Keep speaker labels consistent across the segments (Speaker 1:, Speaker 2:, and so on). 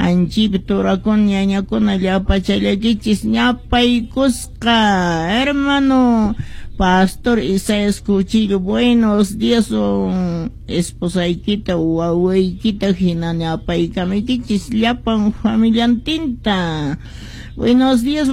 Speaker 1: Anchipi turakuna ñañakuna llapachallakichis ñapaykusqa. Hermano Pastor Isaías Cuchillo, buenos días, esposaykita wawaykita hina ñapaykamuykichis llapan familiantinta. Buenos días,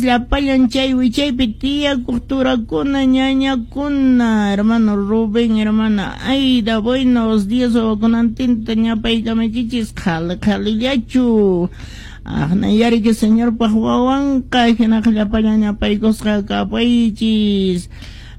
Speaker 1: llapallan chay wichaypi tiyakuq turakuna ñañakuna, hermano Rubén, hermana Aida, buenos días, wawakunantinta ñapaykamuykichis qhali qhalillachu. Aqnayariki Señorpaq wawanqa hinaqa llapallan ñapaykusqa kapaychis.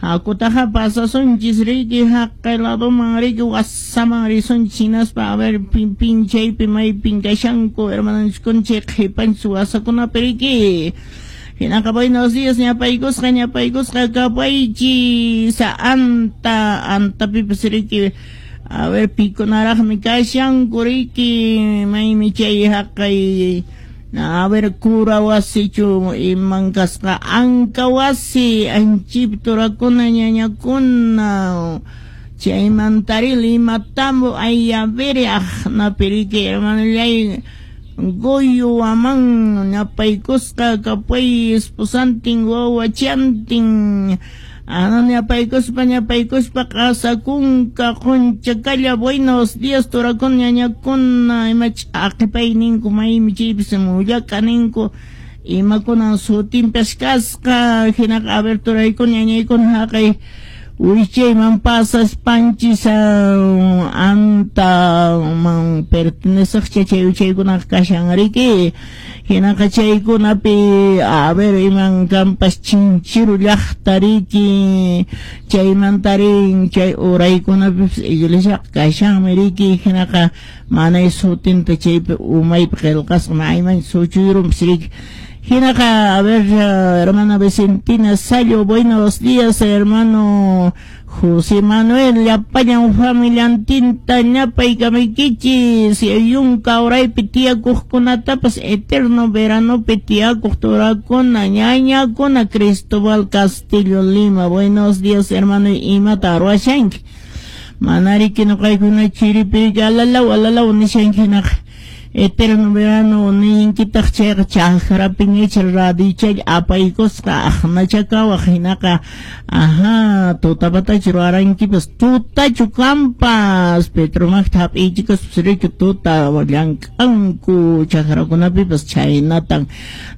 Speaker 1: Hakutaqa pasasunchis riki haqay ladoman riki wasaman risunchis hinaspa a ver pinchaypi maypin kashanku hermanonchiskuna chay qhipanchis wasakunapi riki. Hinaqa buenos días ñapaykusqa ñapaykusqa kapaychis anta antapipas riki a ver pikunaraqmi kashanku riki maymi chay haqay a ver cura wasichu iman kasqa anka wasi anchip turakuna ñañakuna chaymantari Limatambo ayaveri aqnapi riki hermanallay Goyo waman ñapaykusqa kapay esposantin wawachantin ana ñapaykuspa ñapaykuspa qasakunka qunchakalla buenos días turakuna ñañakuna ima ch'aqipay ninku maymi chaypis mullaka ninku imakunan sutinpas kasqa hinaqa a ver turaykuna ñañaykuna haqay wichayman pasaspanchis antaman perteneceqcha chay wichaykunaqa kashan riki hinaqa chaykunapi a ver iman kanpas chinchiru llaqta riki chaymantarin chay uraykunapipis iglesiaqa kashanmi riki hinaqa manay sutinta chaypi umaypi qillqasqa mayman suchuyrunpis riki. Hinaqa, a ver, hermana Vicentina Sayo, buenos días, hermano José Manuel, llapallan familiantinta ñapaykamuykichis, yunka uraypi tiyakuqkunatapas eterno veranopi tiyakuq turakuna, ñañakuna, Cristóbal Castillo Lima, buenos días, hermano, imata ruwashanki. Manariki nuqaykuna chiripi alalaw alalaw nishanki hinaqa. Eterno verano ninkitaq chayqa chakrapiñacha radichay apaykusqa aqnachakawaq hinaqa ajá tutapatachu ruwarankipas tutachu kampas Petromakta hap'ichikuspas riki tuta llank'anku chakrakunapipas chhaynatan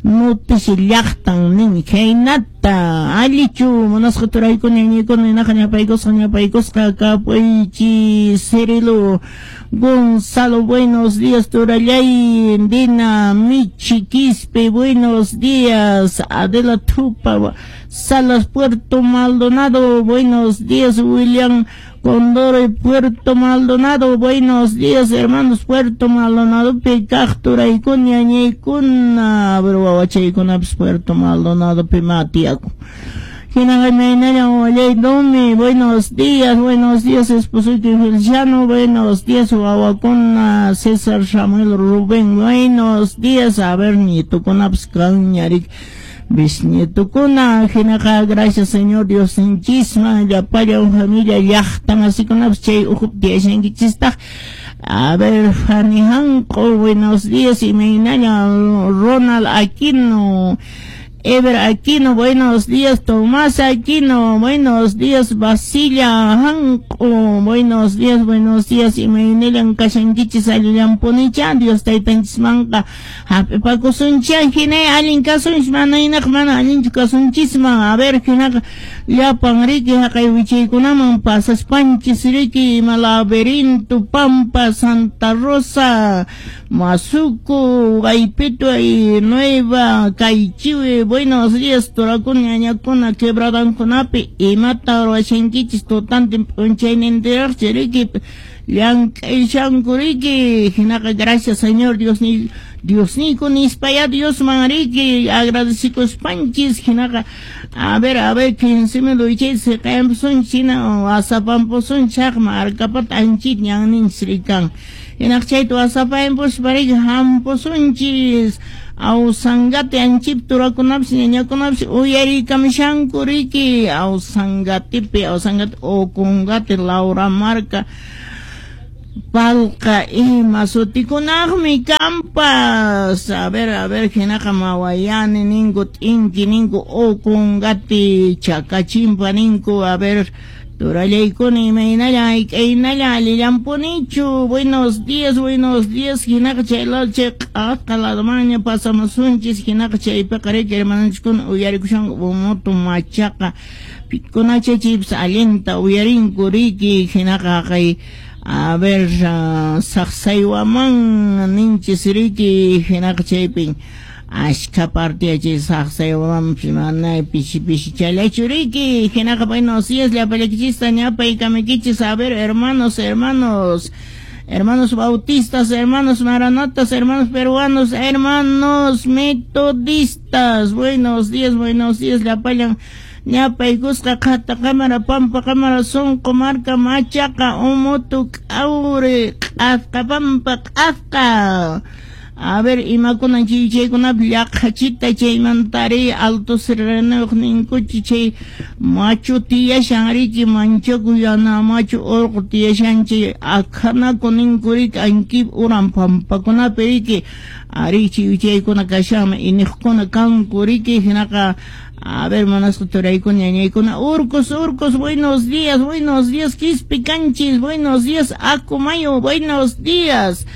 Speaker 1: noticia llaqtan nin khaynata allichu munasqa turaykuna ñañaykuna hinaqa ñapaykusqa ñapaykusqa kapuychis. Cirilo Gonzalo, buenos días, turallay. Dina Michi Quispe, buenos días. Adela Tupa Salas, Puerto Maldonado, buenos días. William Condoro y Puerto Maldonado, buenos días, hermanos. Puerto Maldonado, Picaj, turaykuna, ñañaykuna, pero wawachaykunapas Puerto Maldonado, pimatiaku. Domi, buenos días, esposito Feliciano, buenos días, wawakuna, César Samuel Rubén, buenos días, a ver, nietukunapas kanñarik, bisnietukuna, hinaqa, gracias Señor Dios, inchisman, llapallan familia, llaqtan, asikunapas chay uhup tiyashankichistaq. A ver, Fanny Hanko, buenos días, y Meynaya, Ronald Aquino, Ever Aquino, buenos días, Tomás Aquino, buenos días, Basilia Hanko, buenos días, y Meinelan kashankichis allillampunicha, Dios taytanchismanqa hap'ipakusuncha, hinay allin kasunchis, mana inaq mana allinchu kasunchisman, a ver, hinaqa llapan riki haqay wichaykunaman pasaspanchis riki, ima laberinto, Pampa, Santa Rosa, Masuco, Gaypito y Nueva, Caichiwe, buenos días, turakuna, ñañakuna, quebradankunapi, imata ruwashankichis tutantin p'unchaynintiraqchi riki, llank'ayshanku riki, hinaqa gracias Señor Dios ni Diosniyku nispaya Diosman riki, agradecikuspanchis, hinaqa, a ver, 15 mil wichay siqayampusunchis, hina wasapampusunchis, chaqma arkapata anchit ñanninchis rikan, hinaq chayta wasapayampuspa riki hampusunchis, Ausangate anchip turakunapas ñañakunapas uyariykamushanku riki, Ausangatipi, Ausangate, Ocongate, Laura Marca, Palqa ima sutikunaqmi kampas. A ver, hinaqa mawayani ninku, t'inki ninku, ukungati, chakachimpa ninku. A ver, turallaykuna imaynalla, hayk'aynalla, allillampunichu. Buenos días, hinaqa chay lado chay q'asqa ladomanña pasamusunchis, hinaqa chaypiqa riki hermanonchiskuna uyarikushanku Umutu Machaqa, pikunacha chaypis allinta uyarinku riki, hinaqa haqay a ver, saqsaywaman ninchis riki, hinaqa chaypin ashka parte chay saqsaywamanpis mana pishi pishi challachu riki, hinaqa buenos días llapallaykichista ñapaykamuykichis. A ver, hermanos, hermanos bautistas, hermanos maranatas, hermanos peruanos, hermanos metodistas, buenos días, llapallan ñapaykusqa qhata cámara, pampa cámara, sonqo marca, machaqa, Umutu, k'awri, q'asqa, pampa, q'asqa. A ver, imakunan chaykunapi llaqhachita chaymantari alto serranuyuq ninkuchi chay machu tiyashan riki, manchaku yana machu urqu tiyashan chay akhanaku ninku riki, ankip uran pampakunapi riki, ari chaykuna kashanmi iniqkuna kanku riki, hinaqa a ver, monasqa turaykuna ñañaykuna, urcos, buenos días, Quispe Canchis, buenos días, Acomayo, buenos días,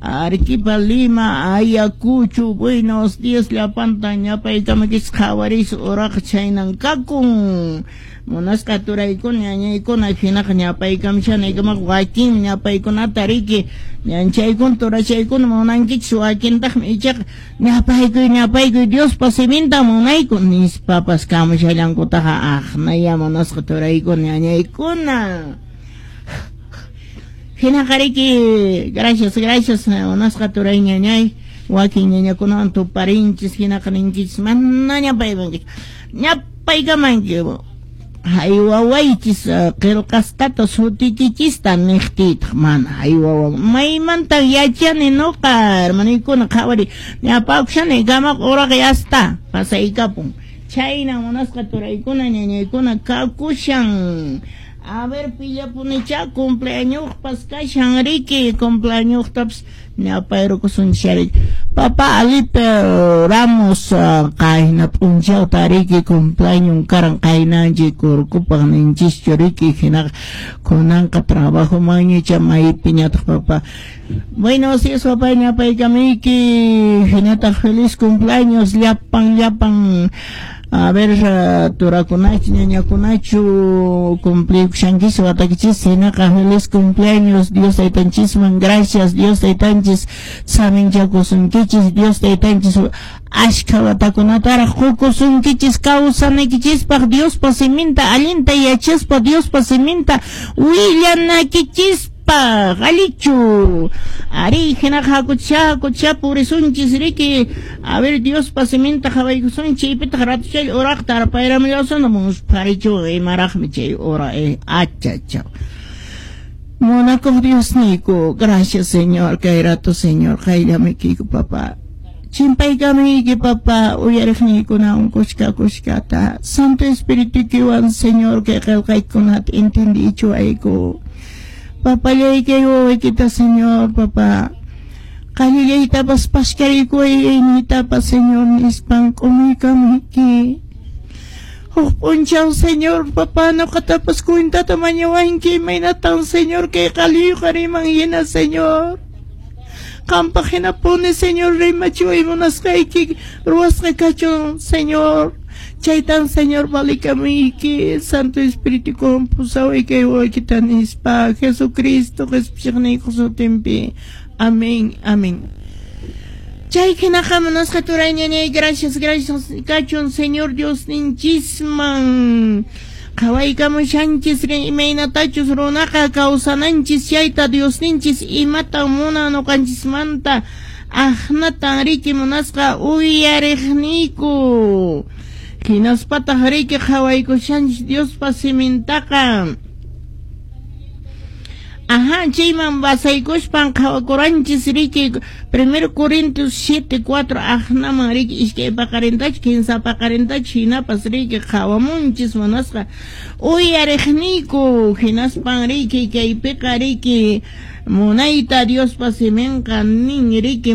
Speaker 1: Arequipa, Lima, Ayacucho, buenos días, llapanta ñapaykamikis qhawaris uraqa chaynan kakun. Munasqa turaykuna ñañaykuna hinaqa ñapaykamishanaykamaqa wakin ñapaykunata riki ñanchaykuna turachaykuna munankichis, wakintaqmi ichaqa ñapaykuy Diospa siminta munayku nispapas kamushallankutaqa aqnaya munasqa turaykuna ñañaykuna. Hinaqa riki, gracias, munasqa turay ñañay, wakin ñañakunawan tuparinchis, hinaqa ninkichis mana ñapaymankichis, ñapaykamanki haywawaychis qillqasqata sutikichista niqtiytaq mana haywawan maymanta yachani nuqa hermanaykuna qhawari ñapakushani kamaqa uraqa yasta pasaykapun. Chayna munasqa turaykuna ñañaykuna kakushan. A ver, pillapunicha cumpleañospas kashan riki, cumpleañostapas ñapayrukusunchis riki. Papá Alipe Ramos qayna p'unchawta riki cumpleaños karan qaynanchik kurkupaq ninchischu riki, hinaqa kunanqa trabajo mañicha maypiñataq papá. Buenos días papá, ñapaykamiyki, hinataq feliz cumpleaños llapan. A ver, turakunachu, ñañakunachu, cumplikushankichis watakichis, hinaqa feliz cumpleaños, Dios taytanchisman, gracias, Dios taytanchis, saminchakusunkichis, Dios taytanchis, ashka watakunataraq qukusunkichis kawsanaykichispaq, Diospa siminta allinta yachaspa, Diospa siminta willanakichispaq, allichu. Ari, hinaqa hakucha purisunchis riki. A ver, Diospa siminta qhawaykusunchis, chaypitaq ratuchay uraqta arpayramillasuna muspharichu imaraqmi chay ura achachaw. Munakuq Diosniyku, gracias Señor, kay rato Señor, qayllamikiyku papá. Chimpaykamiyki papá, uyariqniykuna unqushka kushkata, Santo Espiritukiwan Señor, kay qillqaykunata entendichiwayku. Papallayki wawaykita Señor, papá, qallillaytapas paskarikuwaynitapas Señor nispan k'umuykamuyki. Huk p'unchaw Señor, papá, nuqatapas cuentata mañawanki imaynatan Señor kay qalliyuqa riman hina Señor. Qampaq hinapuni Señor rimachiway munasqayki ruwasqa kachun Señor. Chaytan Señor valikamuyki Santo Espíritu pusaway kay wawaykita nispa Jesucristo qhispichiqniykuq sutinpi. Amén, amén. Chay hinaqa munasqa turay ñañay, gracias kachun Señor Dios ninchisman. Qhawaykamushanchis imaynatachus runaqa kawsananchis chayta Dios ninchis imatan munan nuqanchismanta aqnatan riki munasqa uyariqniyku. Hinaspataq riki qhawaykushanchis Diospa simintaqa. Aha, chayman basaykuspan qhawakuranchis riki 1 Corintios 7:4 aqnaman riki iskay paqarintach kinsa paqarintach hinapas riki qhawamunchis munasqa uyariqniyku hinaspan riki kaypiqa riki munayta Diospa siminqa nin riki.